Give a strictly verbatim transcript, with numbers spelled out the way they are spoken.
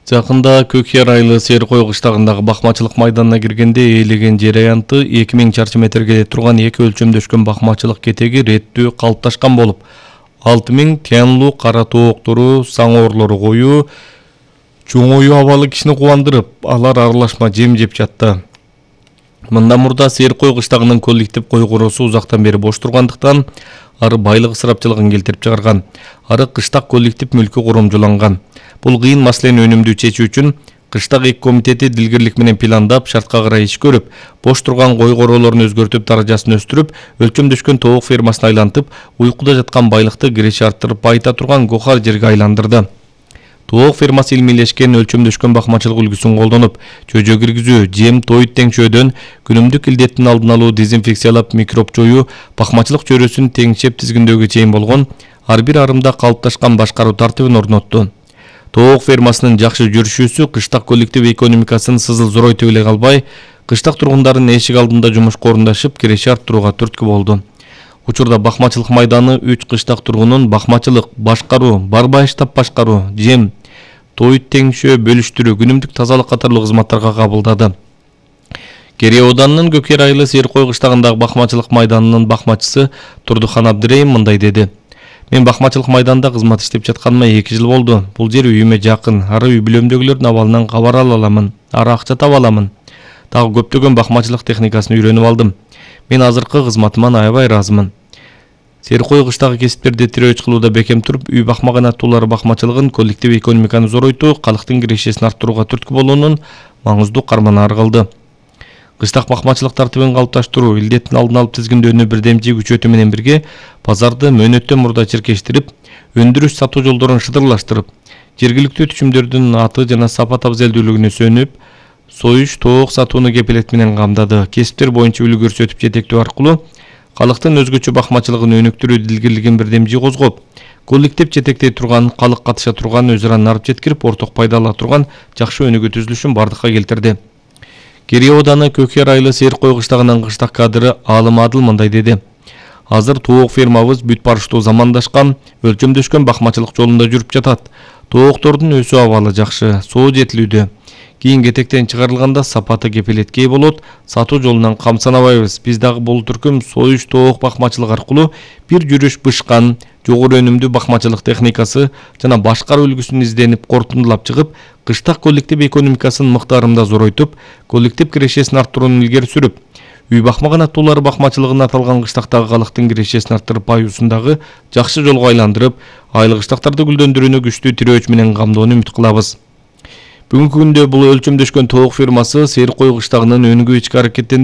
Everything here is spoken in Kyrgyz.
Жакында Көкъяр айылы Серкой кыштагындагы бакмачылык майданына киргенде ээлеген жер аянты эки миң чарчы метрге турган эки өлчөмдөшкөн бакмачылык кетеги реттүү калыпташкан болуп, алты миң тянлуу кара тооктору, саңоорлору коюу, чоңою абалы кишини кубандырып, алар аралашма жем жеп жатты. Мындан мурда Серкой кыштагынын коллектив кой короосу узактан бери бош тургандыктан, ары байлык ысырапчылыгын келтирип чыгарган. Ары кыштак коллектив мүлкү коромжуланган. Бул кыйын маселени өнүмдүү чечүү үчүн кыштак эки комитети дилгирлик менен пландап, шартка карай иш көрүп, бош турган кой короолорун өзгөртүп, даражасын өстүрүп, өлчөмдөшкөн тоок фермасын айлантып, уйкуда жаткан байлыкты киреше арттырып байыта турган гохар жерге айландырды. Тоок фермасы илмийлешкен өлчөмдөшкөн бакмачылык үлгүсүн колдонуп, чөжө киргизүү, жем, тоют теңшөөдөн күнүмдүк илдеттин алдын алуу, дезинфекциялап, микроб жоюу, бакмачылык чөрөсүн теңшеп тизгиндөөгө чейин болгон ар бир арымда калыпташкан башкаруу тартибин орнотту. Тоок фермасынын жакшы жүрүшүүсү кыштак коллектив экономикасын сызыл зоройтуп эле калбай, кыштак тургундардын эшик алдында жумушка орундашып, киреше арттырууга түрткү болду. Учурда бакмачылык майданы үч кыштак тургунун бакмачылык, башкаруу, барбай штаб башкаруу, жем, тоют теңшөө, бөлүштүрүү, күнүмдүк тазалык катарлуу кызматтарга кабылдады. Керей ауданынын Көкъяр айылы Серкой кыштагындагы бакмачылык майданынын бакмачысы Турдухан Абдыреим мындай деди. Мен бакмачылык майданда кызмат иштеп жатканыма эки жыл болду. Бул жер үйүмө жакын. Ары үй бүлөмдөгүлөрдүн абалынан кабар ала аламын. Ары акча таба аламын. Дагы көптөгөн бакмачылык техникасын үйрөнүп алдым. Мен азыркы кызматыман аябай ыраазымын. Серкой кыштагы кесиптерди тирөөч кылууда бекем туруп, үй бакмаган аттуулар бакмачылыгын, коллектив экономиканы зоройтуу, калктын кирешесин арттырууга түрткү болуунун маңыздуу карманары кылды. Кыштак бакмачылык тартибин калыпташтыруу, илдеттин алдын алып тизгиндөөнү бирдемчи күчөтүү менен бирге базарды мөөнөттөн мурда чиркештирип, өндүрүш сатуу жолдорун шыдырлаштырып, жергиликтүү түчүмдөрдүн аты жана сапат абзелдүүлүгүнө сөнүп, союш тоок сатууну кепилет менен камдады. Кесиптер боюнча үлгү көрсөтүп жетектөө аркылуу калктын өзгөчө бакмачылыгын өнүктүрүү дилгирлигин бирдемчи козгоп, коллектив жетектей турган, калк катыша турган, өз ара нарып жеткирип, орток пайда ала турган жакшы өнүгүү түзүлүшүн бардыкка келтирди. Керей ауданы Көкъяр айылы Серкой кыштагынын кыштак кадры Алым Адыл мындай деди. Азыр тоок фермабыз бүт барыштуу замандашкан, өлчөмдөшкөн бакмачылык жолунда жүрүп жатат. Тооктордун өсүү абалы жакшы, соо жетилүүдө. Кийин кетектен чыгарылганда сапаты кепилеткей болот, сатуу жолунан камсанабайбыз. Биз дагы бул түркүм союш тоок бакмачылык аркылуу бир жүрүш бышкан, жогору өнүмдүү бакмачылык техникасы жана башкаруу үлгүсүн изденип корутундулап чыгып, кыштак коллектив экономикасын мыктаарында зоройтуп, коллектив кирешесин арттырууну илгери сүрүп, үй бакмаган аттуулар бакмачылыгын аталган кыштактагы калктын кирешесин арттырып, баюусундагы жакшы жолго айландырып, айыл кыштактарды гүлдөндүрүүнү күчтүү тирөөч менен камдоону үмүт кылабыз. Бүгүнкү күндө бул өлчөмдөшкөн тоок фермасы Серкой кыштагынын өнүгүү ички аракеттендирүү